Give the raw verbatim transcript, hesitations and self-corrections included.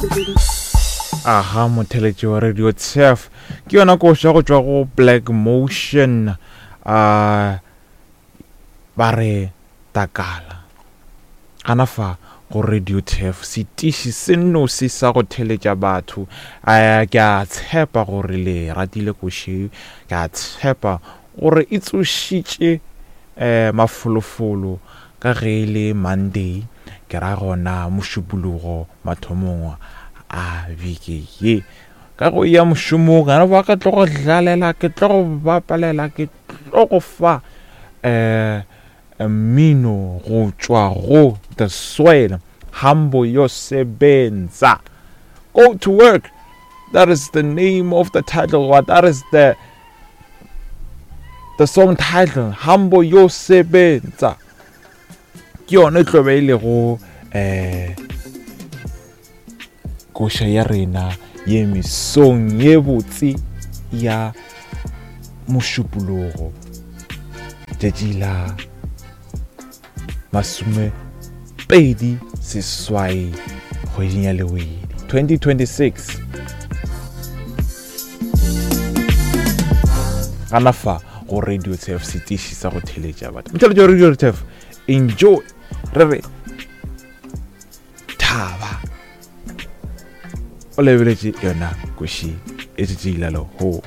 Aha, motheletši wa Radio Turf ke yona koša go tšwa go Black Motion. uh, ba re takala gana fa go Radio Turf, setiši se nosi sa go theletša batho. uh, ke a tshepa gore le ratile koši, ke a tshepa gore e tsošitše um mafolofolo ka ge e le Monday, ke ra gona mošupologo mathomong a beke ye. Ka go ya mošomong gana ba ka tlo go dlalela, ke tlo go bapalela, ke tlo go fa um mmino go tšwa go The Soil, Hambo Yo Sebenza. Go to work, that is the name of the title, what that is the the song title, Hambo Yo Sebenza. Ke yona e tlo be e lego um koša ya rena ye mesong ye botse ya mošupologo tšatši la masome pedi seswai kgweding ya Lewedi twenty twenty-six. Gana fa go Radio Turf, setiši sa go theletša batho. Motheletši wa Radio Turf, enjoy, re re thaba o lebeletše yona koši e tšatši la lehono.